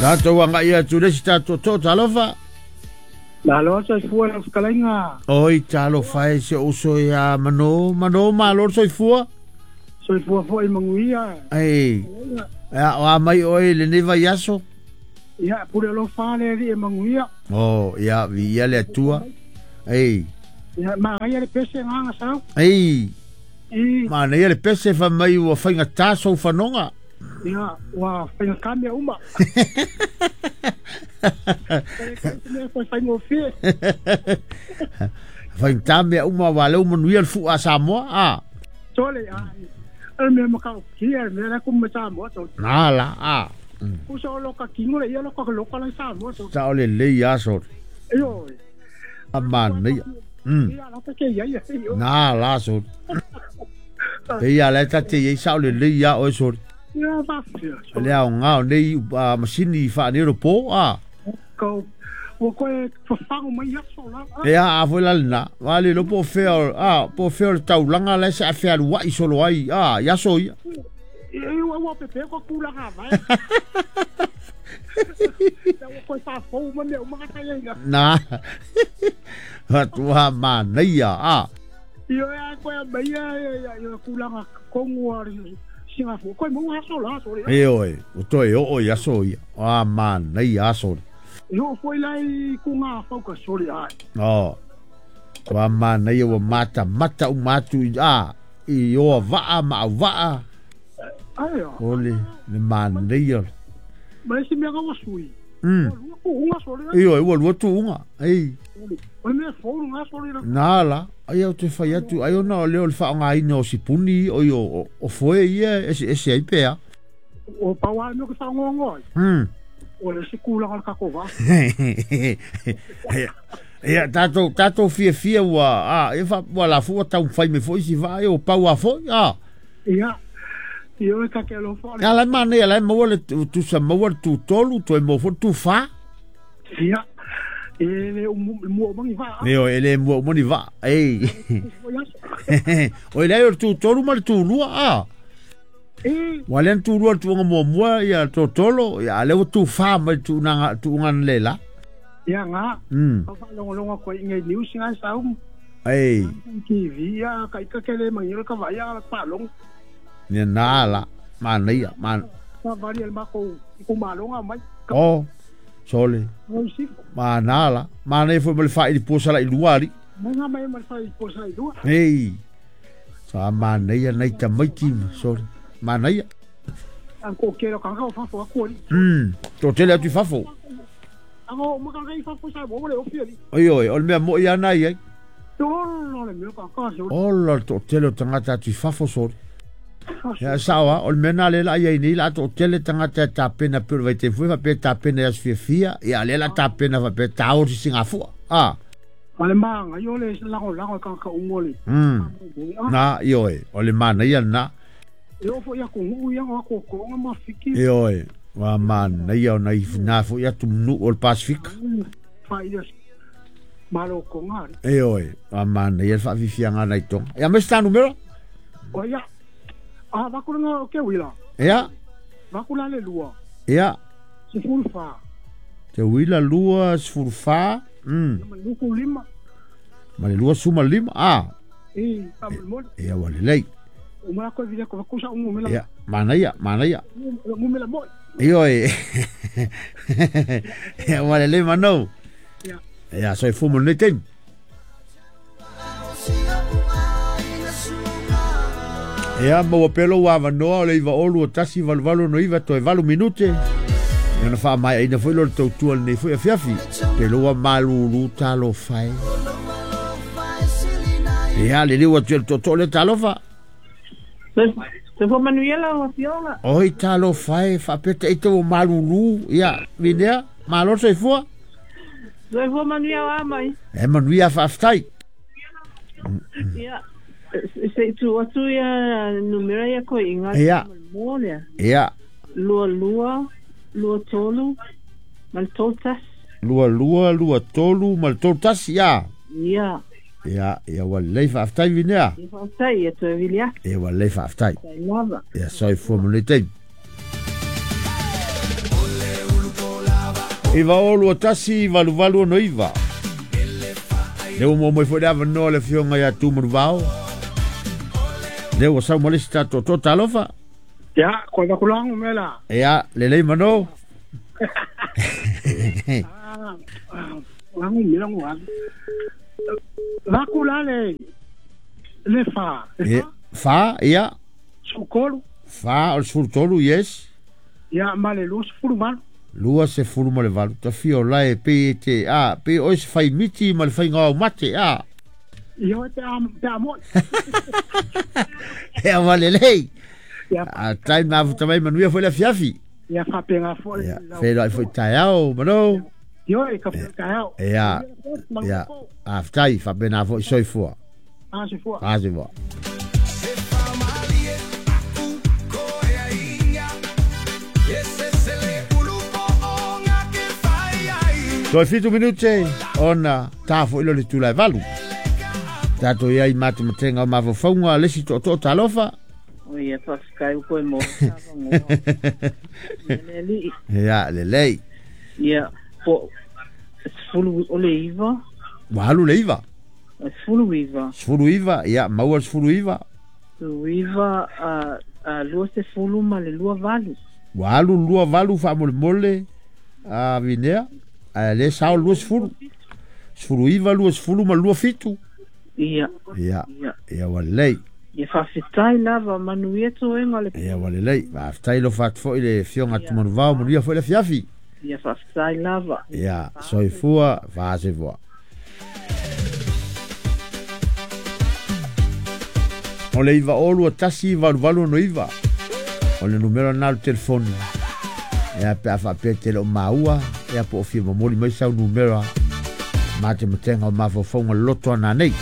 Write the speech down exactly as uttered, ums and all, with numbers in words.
Tatou agai atu le isi tatou tootoo talofa. Malo soifua lau fetalaiga. Oi talofa e si ou uso ia Mano, Mano malo le soifua. Soifua foi manuia. Ei, ia o a mai oe i lenei vaiaso. Ia pule alofa le alii e manuia. Oh, ia viia le Atua. Ei. Ia manaia le pese agaga sau. Ei. I. Manaia le pese fai mai ua faigata sou fanoga. Ia, ua faigata mea uma. Faigata mea uma aua lea ua manuia le fua a Samoa a. Sole a. O le mea matautia, le mea la kuma Samoa sole. Na la a. Uso o loka kingo le ia loka loka la Samoa sole. Sao lelei a sole. Ioe. A manaia. Mm. Ia la te ia ia. Na la sole. Ia la te ia sao lelei a oe sole. Ia faafia. Le aoga o nei masini faaneropo a. Kau ua koe fafago mai aso la. Ia a foi la lena. Wa le lo po fea a po fea o le taulaga la se afealuai solo ai a i aso ia. E ua ua pepe ko tulaga vai. Ua koe faafou ma mea uma ka ia. Na. Atua manaia a. Ia ia koe mai ia ia tulaga kongu ari. Singapore, koe mau aso la aso. E oe, o toe oo i aso ia. A manaia aso. Io foi la i ku ngā whauka sore ai. Oh. Ua manaia ua mata mata uma atu i a i oa vaa ma au vaa. Ai a. O le le manaia. Ma isi mea kaua sui. Mm. Ua lua tuuga sore. Ioe, ua lua tuuga. Ei. O le mea fou ngā sore la. Nā la. Ai au te whai atu, ai ona o leo le whaongaina o sipuni, o i o, o foe ia, ese, ese ai pea. O paua mea ke whaongongo ai. Hmm. O le se kūlanga le kako vā. Ia, tātou, tātou fia fia ua, a, e wha, ua la fua tau whai me foi si wha, e o paua foi, a. Ia, ia e kake alofa. Ia, lai mane, lai maua le tusa maua le tūtolu, toe maua foi le tūwhā. Ia. E le mua umangi vaa. Io, e le mua umangi vaa. Ei. O le o le tūtolu ma le tūlua, a. E. Ua lea na tūlua le tuuga muamua, ia totolo, ia a lea ua tūfā mai le tuuga tuuga na le la. Ia ngā. Mm. Ka whaalongolonga koe i ngai news ngai sau. Ei. T V, ia, ka ika kele mangi ka vai a whaalongo. Ia nā la, manaia, man. Ka vari el mako i kumalonga mai. Oh. Sole. Ma nā la. Ma nei foi ma le whaili pōsala i lua ari. Nga mai ma le whaili pōsala i lua. Ei. Sa ma nei a nei tamaiti, sole. Ma nei. Ang ko kero ka ngau fafo aku ari. Hmm. Tō tele atu i fafo. Ang o maka ngai fafo sa mo le ofi ari. Oi oi, o le mea mo i ana i ai. Ola le mea ka ka sole. Ola tō tele o tangata atu i fafo sole. Ia sawa, o le mea nā le la ia nei la tō tele tangata e tāpena peo vai te fui, whapea tāpena i aso fiafia, ia le la tāpena whapea tāori Singafua. Ah. Ma le maanga, i o le lango lango ka ka ungo le. Mm. Nā, i oe, o le mana ia nā. E o fo ia kongu ia ngā kōkōnga ma fiki. E oe, wa mana ia o nai nā fo ia tumnu o le Pasifika. Wha ia malo konga. E oe, wa mana ia whaafifianga nei tonga. Ia me se tā numero? O ia. Ah, vakula o ke wila. Ia. Vakula le lua. Ia. Sefulu fa. Te wila lua sefulu fa. Mm. Ma luku lima. Ma le lua suma lima. Ah. E, pa mo. Ia wa le lei. O ma ko vile ko kusa ungu mela. Ia, mana ia, mana ia. Ungu mela mo. Io e. Ia wa le lei mano. Ia. Ia so e fumo nei teim. Ia maua pelo ua avanoa o le iva olu o tasi valu valu no iva toe valu minute. Ia na wha mai aina foi lo le tautua lenei foi afiafi. Te loa malulu talofa e. Ia le liu atu e le toto le talofa. Se fo manuia lau afioga. Oi talofa e whaapeta ite o malulu. Ia vinea, malo soifua. Soifua manuia wa mai. E manuia whaaftai. Ia. Se tu atu ia numera ia koe inga. Ia. Mōlea. Ia. Lua lua, lua tolu, ma le tolu tasi. Lua lua, lua tolu, ma le tolu tasi, ia. Ia. Ia, ia wa lei whaaftai vinea. Ia whaaftai, ia toe vili atu. Ia wa lei whaaftai. Tai lava. Ia soifua mo nei taimi. Iva o lua tasi valu valu ono iva. Le ua mo foi le avanoa le afioga ia Tumanuvao. Le ua sau ma le isi tatou tootoo talofa. Ia, koe vakulangu mela. Ia, lelei mano. Ah, langu mela ngu alu. Vakula le le fa. Le fa? Fa, ia. Sukolu. Fa o le sefulu tolu, yes. Ia, ma le lua sefulu valu. Lua sefulu ma le valu. Tafia o lae pe e te, a, pe oe se faimiti ma le faiga o mate, a. Ia oe pe a, pe a moi. Ea walelei. Ia. A tai ma afuta mai manuia foi le afiafi. Ia faapega foi. Ia, feiloai foi taeao, mano. Ioe, ka foi taeao. Ia, ia, aftai, faapena foi soifua. A soifua. A soifua. Toe fitu minute ona tā foi lo le tula e valu. Tātou ia i matematenga o mafaufauga le isi tootoo talofa. O ia faafetai koe mo le alii. Ia, lelei. Ia, po sefulu o le iva. Ua alu le iva. Sefulu iva. Sefulu iva, ia, maua le sefulu iva. Sefulu iva, lua sefulu ma le lua valu. Ua alu lua valu faamolemole a Vinea. Ae le sao lua sefulu. Sefulu iva, lua sefulu ma lua fitu. Ia. Ia, ia ua lelei. Ia faafetai lava manuia toega le. Ia ua lelei. Faafetai lo faatu foi le afioga Tumanuvao, manuia foi le afiafi. Ia faafetai lava. Ia, soifua, faasoifua. O le iva o lua tasi valu valu ono iva. O le numera na o le telefoni. Ia pe a faapea te le o maua, ia po o fia momoli mai sau numera. Matematenga o mafaufauga loto ana nei.